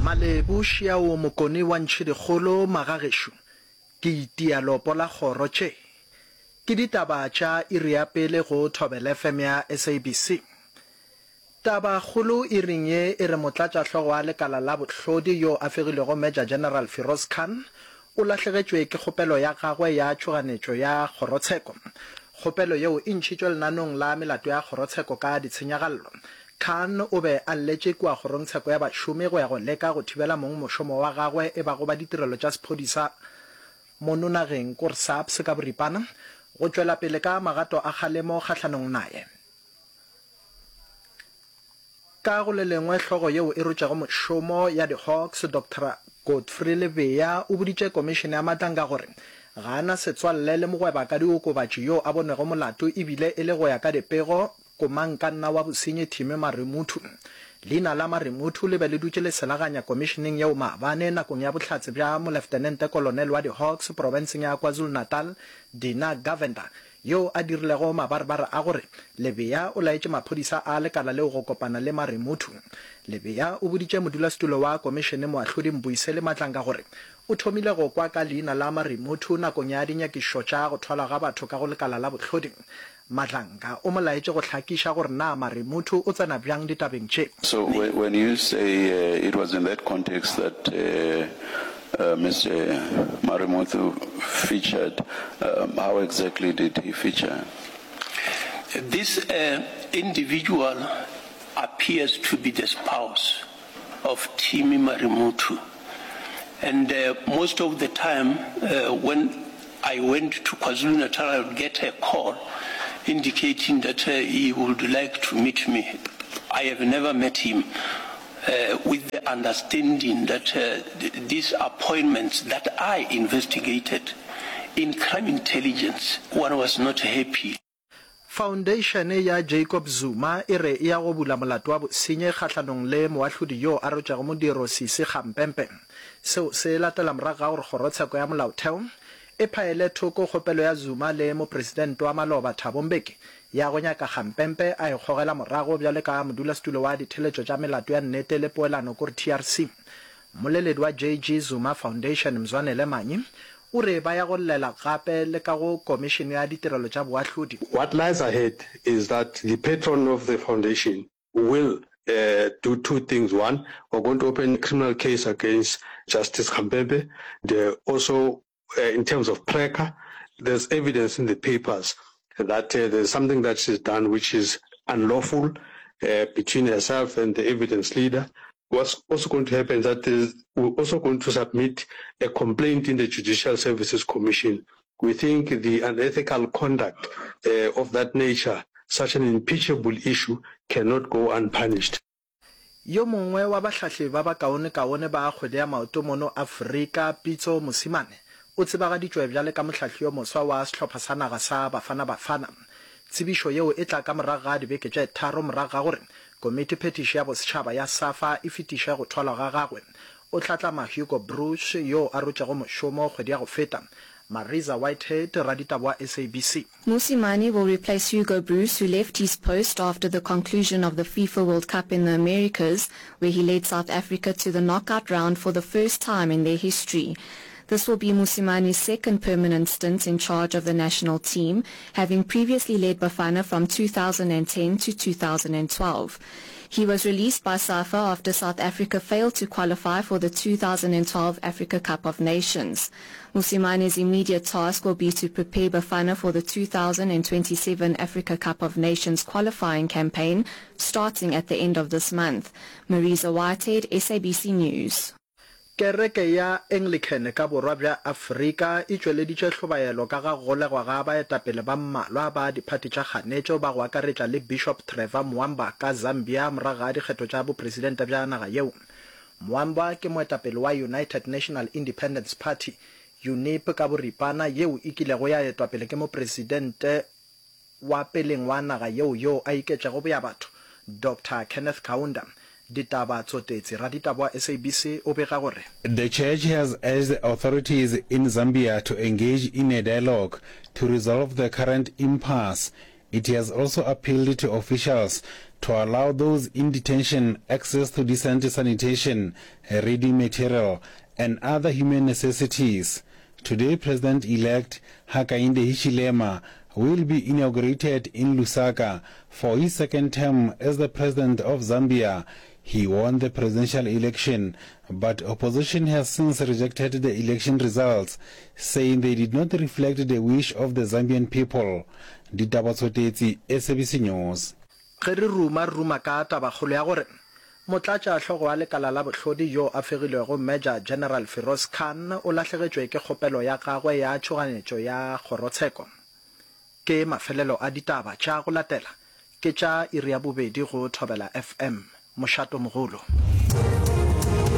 Malebu Šiao Mokone wa Ntšhidikgolo Magagešo ke itia lopo la kgoro tše ke ditaba tša iri ya pele go Thobela FM ya SABC. Taba kgolo iring ye e re motlatšahlogo wa lekala la bohlodi yo a fegilwego Major General Firoz Khan o lahlegetšwe ke kgopelo ya gagwe ya tšhoganetšo ya kgorotsheko. Kgopelo yeo e ntšhitšwe lenanong la melato ya kgorotsheko ka ditshenyagallo. Khan o be a lletše kua kgorongtsheko ya bašomi go ya go leka go thibela mongmošomo wa gagwe e bago ba ditirelo tša sephodisa mono nageng, kor SAPS ka boripana, go tšwela pele ka magato a kgalemo kgahlanong naye. Ka go le lengwe, hlogo yeo e rotšego mošomo ya di-Hawks, Doctor Godfrey Lebeya o boditše komišene ya Matlanga gore ga a na setswalle le mogwebakadiokobatši yo a bonwego molato ebile e le go ya ka dipego komangkanna wa bosenyi Timmy Marimuthu. Leina la Marimuthu le be le dutše le selaganya komišeneng yeo maabane nakong ya bohlatse bja Moleftenente Kolonel wa di-Hawks profenseng ya KwaZulu-Natal Dina Govender yo a dirilego mabarebare a gore Lebeya o laetše maphodisa a lekala leo go kopana le Marimuthu. Lebeya o boditše modulasetulo wa komišene Moahlodi Mbuyiseli Madlanga gore o thomile go kwa ka leina la Marimuthu nakong ya dinyakišišo tša go thwalwa ga batho ka go lekala la bohlodi. Madlanga o mo laetše go hlakiša gore na Marimuthu o tsena bjang ditabeng tše. So when you say it was in that context that Mister Marimuthu featured, how exactly did he feature? This individual appears to be the spouse of Timmy Marimuthu and most of the time when I went to KwaZulu-Natal I would get a call indicating that he would like to meet me. I have never met him with the understanding that these appointments that I investigated in crime intelligence, one was not happy. Foundation ya Jacob Zuma e re e ya go bula molato wa bosenyi kgahlanong le moahlodi yo a rotšego modiro Sisi Kgampempe. Seo se latela morago ga gore kgorotsheko ya molaotheo e phaele thoko kgopelo ya Zuma le mopresidente wa maloba Thabo Mbeki ya go nyaka Kgampempe a ikgogela morago bjale ka modulasetulo wa ditheletšo tša melato ya nnete le poelano kore TRC. Mmoleledi wa JG Zuma Foundation Mzwanele Manyi o re ba ya go llela gape le ka go Komišene ya Ditirelo tša Boahlodi. What lies ahead is that the patron of the foundation will do two things, one, we're going to open a criminal case against Justice Khampepe, and also in terms of Preca, there's evidence in the papers that there's something that she's done which is unlawful between herself and the evidence leader. What's also going to happen is that we're also going to submit a complaint in the Judicial Services Commission. We think the unethical conduct of that nature, such an impeachable issue, cannot go unpunished. Yo mongwe wa bahlahli ba bakaonekaone ba kgwele ya maoto mono Afrika, Pitso Mosimane, o tsebagaditšwe bjale ka mohlahli yo moswa wa sehlopha sa naga sa Bafana Bafana. Tsebišo yeo e tla ka morago ga dibeke tše tharo morago ga gore Komiti Phethiši ya Bosetšhaba ya SAFA e fetiše go thwalwa ga gagwe. O hlatlama Hugo Broos yo a rotšego mošomo kgwedi ya go feta. Mariza Whitehead, raditaba wa SABC. Mosimane will replace Hugo Broos who left his post after the conclusion of the FIFA World Cup in the Americas where he led South Africa to the knockout round for the first time in their history. This will be Mosimani's second permanent stint in charge of the national team, having previously led Bafana from 2010 to 2012. He was released by SAFA after South Africa failed to qualify for the 2012 Africa Cup of Nations. Mosimani's immediate task will be to prepare Bafana for the 2027 Africa Cup of Nations qualifying campaign starting at the end of this month. Marisa Whitehead, SABC News. Kereke ya Anglican ka Borwa bja Afrika e tšweleditše hlobaelo ka ga go golegwa ga baetapele ba mmalwa ba diphathi tša kganetšo ba go akaretša le Bishop Trevor Mwamba ka Zambia morago ga dikgetho tša bopresidente bja naga yeo. Mwamba ke moetapele wa United National Independence Party, UNIP ka boripana, yeo e kilego ya etwa pele ke mopresidente wa peleng wa naga yeo yoo a iketšego boyabatho, Doctor Kenneth Kaunda. Ditaba Tsotetsi, raditaba wa SABC o bega gore. The church has urged the authorities in Zambia to engage in a dialogue to resolve the current impasse. It has also appealed to officials to allow those in detention access to decent sanitation, reading material, and other human necessities. Today, President-elect Hakainde Hichilema will be inaugurated in Lusaka for his second term as the president of Zambia. He won the presidential election, but opposition has since rejected the election results, saying they did not reflect the wish of the Zambian people. Ditaba Tsotetsi, SABC News. Ge re ruma, re ruma ka tabakgolo ya gore Motlatšahlogo wa Lekala la Bohlodi yo a fegilwego Major General Firoz Khan o lahlegetšwe ke kgopelo ya gagwe ya tšhoganetšo ya kgorotsheko. Ke mafelelo a ditaba tša go latela ke tša iri ya bobedi go Thobela FM. Mošato Mogolo.